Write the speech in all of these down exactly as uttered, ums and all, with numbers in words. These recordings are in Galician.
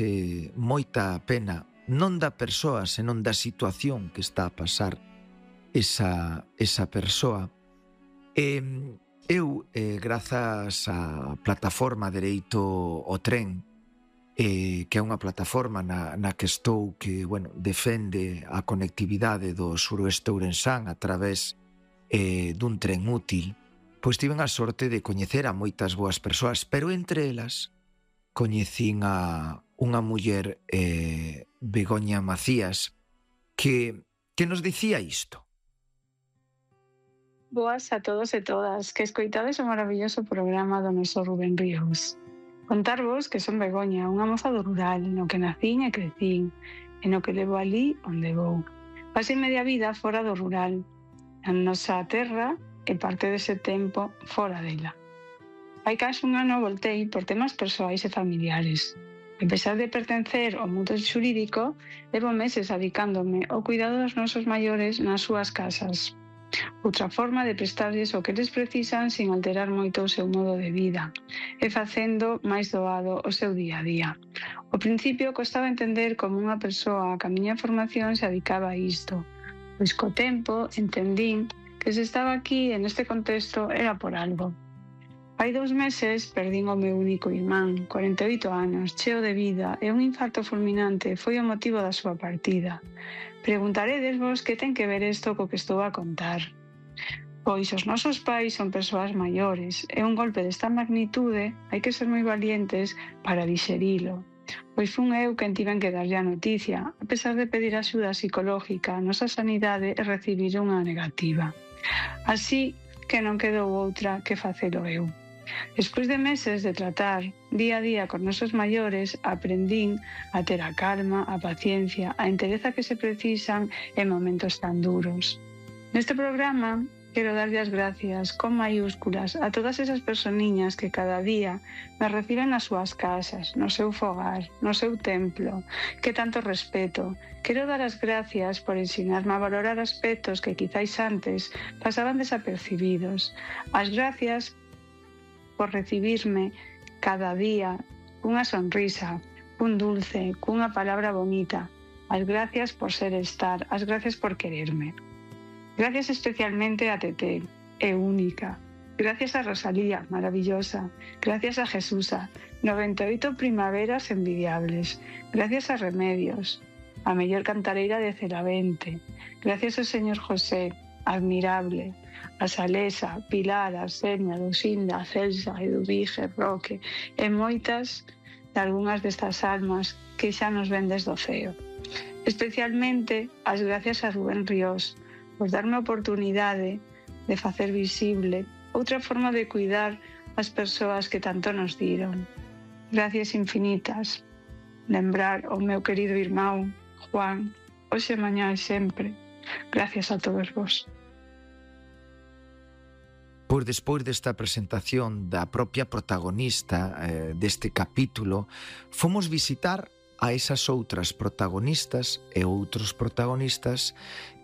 eh, moita pena, non da persoa, senón da situación que está a pasar esa, esa persoa. E eu, eh, grazas á plataforma Dereito ao Tren, eh, que é unha plataforma na, na que estou, que, bueno, defende a conectividade do suroeste ourensán a través eh, dun tren útil, pois tiven a sorte de coñecer a moitas boas persoas, pero entre elas coñecín a unha muller, eh, Begoña Macías, que, que nos dicía isto. Boas a todos e todas, que escoitades o maravilloso programa do noso Rubén Ríos. Contarvos que son Begoña, unha moza do rural, no que nacín e crecín, e no que levo ali onde vou. Pasei media vida fora do rural, na nosa terra e parte dese tempo fora dela. Hai case un ano voltei por temas persoais e familiares. A pesar de pertencer ao mundo xurídico, levo meses adicándome ao cuidado dos nosos maiores nas súas casas. Outra forma de prestarlles o que eles precisan sin alterar moito o seu modo de vida e facendo máis doado o seu día a día. Ao principio costaba entender como unha persoa que a miña formación se adicaba a isto, pois co tempo entendín que se estaba aquí en este contexto era por algo. Hai dous meses perdín o meu único irmán, corenta e oito anos, cheo de vida, e un infarto fulminante foi o motivo da súa partida. Preguntaredes vos que ten que ver isto co que estou a contar. Pois os nosos pais son persoas maiores, e un golpe desta magnitude hai que ser moi valientes para dixerilo. Pois fun eu quen tiven que darlle a noticia, a pesar de pedir axuda psicológica a nosa sanidade e recibir unha negativa. Así que non quedou outra que facelo eu. Despois de meses de tratar día a día con nosos maiores, aprendín a ter a calma, a paciencia, a entereza que se precisan en momentos tan duros. Neste programa quero darlle as gracias con maiúsculas a todas esas personiñas que cada día me reciben nas súas casas, no seu fogar, no seu templo, que tanto respeto. Quero dar as gracias por ensinarme a valorar aspectos que quizáis antes pasaban desapercibidos. As gracias por recibirme cada día cunha sonrisa, cun dulce, cunha palabra bonita. As gracias por ser estar, as gracias por quererme. Gracias especialmente a Tete, é única. Gracias a Rosalía, maravillosa. Gracias a Jesusa, noventa e oito primaveras envidiables. Gracias a Remedios, a mellor cantareira de Celavente. Gracias ao señor José, admirable. A Salesa, Pilar, Arseña, Lucinda, Celsa, Eduvige, Roque e moitas de algunhas destas almas que xa nos ven desde o ceo. Especialmente as gracias a Rubén Ríos por darme a oportunidade de facer visible outra forma de cuidar as persoas que tanto nos diron. Gracias infinitas. Lembrar o meu querido irmão, Juan, hoxe, mañá e sempre. Gracias a todos vos. Pois despois desta presentación da propia protagonista eh, deste capítulo, fomos visitar a esas outras protagonistas e outros protagonistas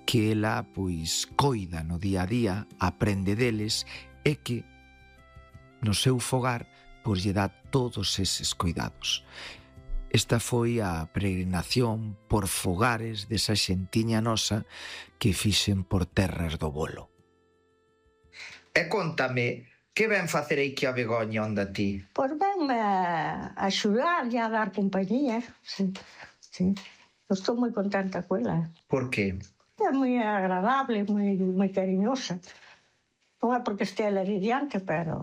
que ela, pois, coida no día a día, aprende deles e que no seu fogar, pois, lle dá todos eses cuidados. Esta foi a peregrinación por fogares desa xentiña nosa que fixen por terras do Bolo. E contame, que ven facer aí que a Begoña onda ti? Pois venme a axudar e a dar compañía. Sí, sí. Estou moi contenta con ela. Por que? É moi agradable, moi, moi cariñosa. Non é porque este ela diante, pero...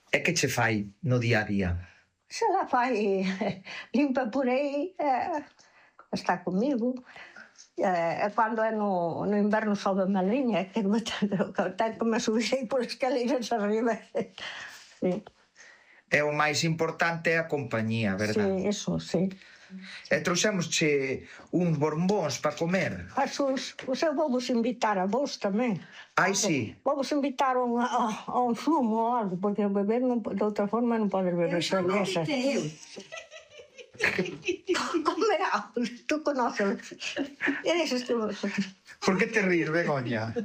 E que che fai no día a día? Se la fai, limpa por aí, eh, está comigo. E cando é no, no inverno sobe a liña, que me ten que me subir por escaleiras arriba. Sí. É o máis importante é a compañía, verdad? Sí, eso, sí. E trouxémosche uns bombóns para comer. Asus, eu vou vos invitar a vos tamén. Ai, sí. Vou vos invitar a un, a, a un zumo ou algo, porque beber non, de outra forma non podes beber cerveza. Come algo, tú conoces. Eres tú. Por que te ríes, Begoña?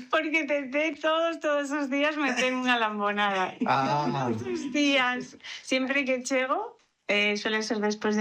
Porque Tete todos, todos os días me ten unha lambonada. Ah. Todos os días. Sempre que chego, eh, suele ser despois de